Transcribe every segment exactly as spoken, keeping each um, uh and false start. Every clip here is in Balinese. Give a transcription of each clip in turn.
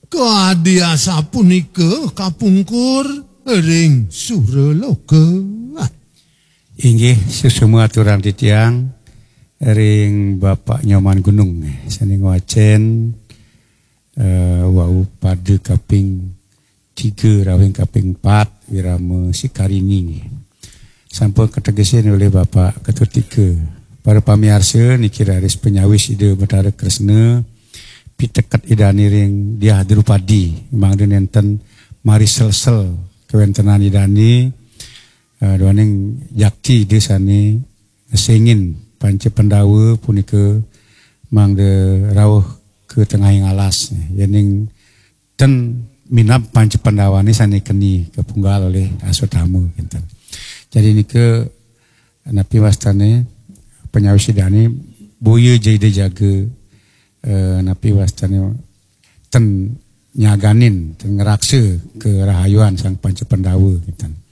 Kadi asapunika kapungkur ring suraloka. Inggih, suksma aturang titiang ring Bapak Nyoman Gunung, sane ngwacen, eh, wau pada kaping tiga rawing kaping empat, Wirama Sikarini. Sampun kategesin olih Bapak Ketutika. Para pamiarsa, niki raris panyawis Ida Betara Kresna, piteket Idane ring Diah Drupadi, mangda nenten mariselsel kawentenan Idane, eh, duaning jakti Ida sane ngesengin Panca Pandawa punika mangda rauh ka tengahing alas. Yening ten minab Panca Pandawane sane keni kapunggal olih Aswatthama, kinten. Jadi nika napi wastane panyawis Idane boya ja Ida jaga, eh, napi wastane ten nyaganin, ten ngraksa karahayuan Sang Panca Pandawa, kinten.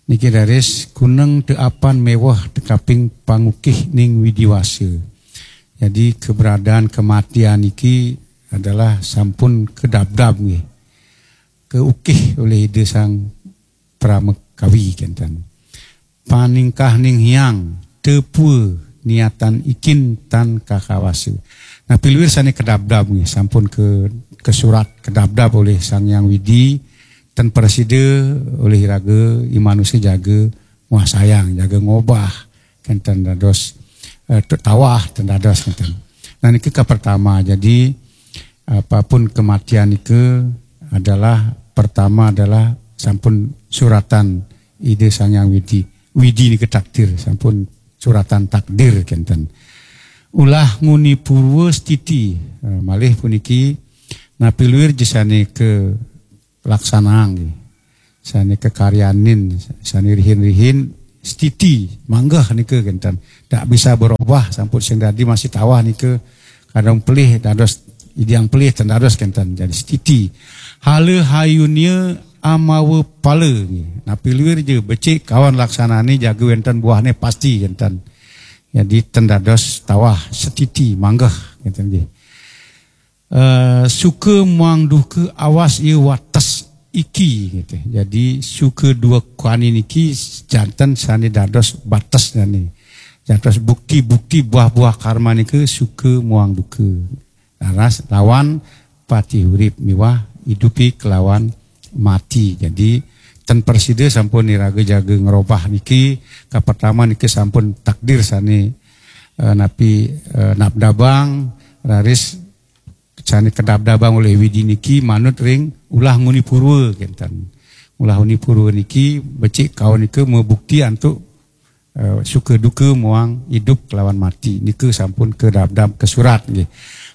Niki raris kuneng te apan meweh te kaping pangukih ning widiwasa. Jadi keberadaan kematian niki adalah sampun kedabdab nggih. Keukih oleh Ida Sang Pramakawi, kinten. Paningkah ning hyang, tepua niatan ikin tan kakawasa. Nah, piluir sane kedabdab nggih, sampun ke, kesurat kedabdab oleh Sang Hyang Widi, ten prasida olih iraga i manusa jaga nguasayang, jaga ngobah, kenten dados, eh, tu-, tawah, ten dados kenten. Nah, niki ka pertama. Jadi, apapun kematian nika adalah, pertama adalah sampun suratan Ida Sang Hyang Widi. Widi nika takdir, sampun suratan takdir kenten. Ulah nguni purwa stiti, eh, malih puniki napi luir ja sane ke laksanang nggih. Sane kakaryanin, sane rihin-rihin stiti, manggeh nika kenten. Tak bisa berubah, sampun sing dadi masih tawah nika, kadang pelih dados idang pelih ten dados kenten. Jadi stiti. Hala hayunia amawa pala nggih. Napi luir ja becik kawan laksanane jaga wenten buahne pasti kenten. Jadi ten dados tawah stiti manggeh kenten nggih. Eh, suka muang duka awas ia wates iki, gitu. Jadi suka duka niki janten sane dados bates jani. Dados bukti-bukti buah-buah karma nika suka muang duka. Laras lawan pati urip miwah idupi kelawan mati. Jadi ten prasida sampun iraga jaga ngrobah niki, kapertama niki sampun takdir sane, eh, napi, eh, nabdabang, raris sane kadabdabang olih Widi niki manut ring ulah nguni purwa kenten. Ulah nguni purwa niki becik kaon nika mabukti antuk, eh, suka duka muang idup kelawan mati. Nika sampun kadabdab kasurat nggih.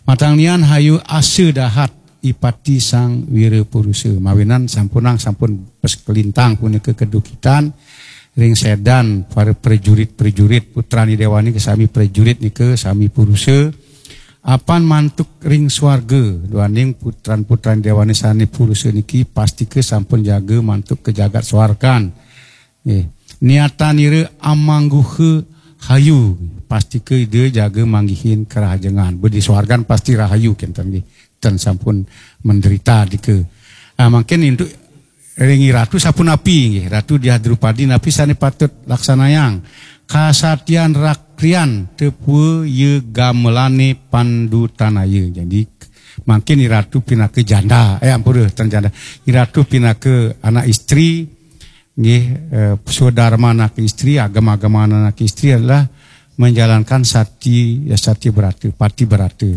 Matang nian hayu asa dahat ipati Sang Wira Purusa. Mawinan sampunang sampun pes kelintang punika kadukitan ring sedan para prajurit-prajurit putran Idewa nika sami prajurit nika sami purusa. Apan mantuk ring swarga, duaning putran-putran Idewane sane purusa niki pastika sampun jaga mantuk ka jagat swargan. Nggih. Niatan ira amangguha hayu, pastika Ida jaga manggihin kerahajengan. Bedi swargan pasti rahayu kenten nggih. Ten sampun menderita dika. Ah, mangkin untuk ring Ratu sapunapi nggih, Ratu Diah Drupadi napi sane patut laksanayang? Kasatian rakrian tepua ya gamelane pandutanaya. Jadi mangkin Ratu pinaka janda, eh ampura, ten janda. Ratu pinaka anak istri nggih, eh, swadarman anak istri, agama-agama anak istri adalah menjalankan sati, ya, sati brata, pati brata.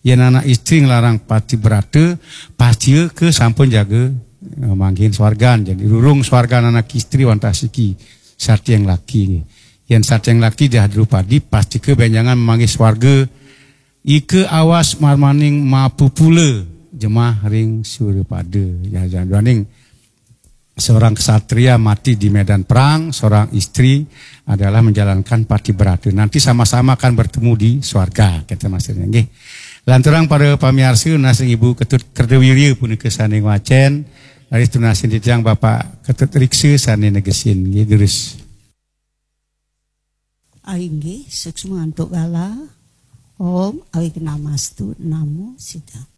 Yen anak istri nglarang pati brata, pastika sampun jaga, eh, manggihin swargan. Jadi rurung swargan anak istri wantah siki sati yang laki. Yen sati yang laki Diah Drupadi pastika benjangan manggih swarga. Ika awas marmaning mapupula jemah ring Surapada. Ya, ya, duaning seorang kesatria mati di medan perang, seorang istri adalah menjalankan pati brata. Nanti sama-sama akan bertemu di swarga, kata maksudnya. Nggih. Lanturang para pamiarsa, nunas ring Ibu Ketut Kerdawirya punika sane ngwacen, raris tunasin titiang Bapak Ketut Riksa sane negesin. Nggih, durus. Inggih, suksma antuk galah. Om Awighnamastu Namo Siddham.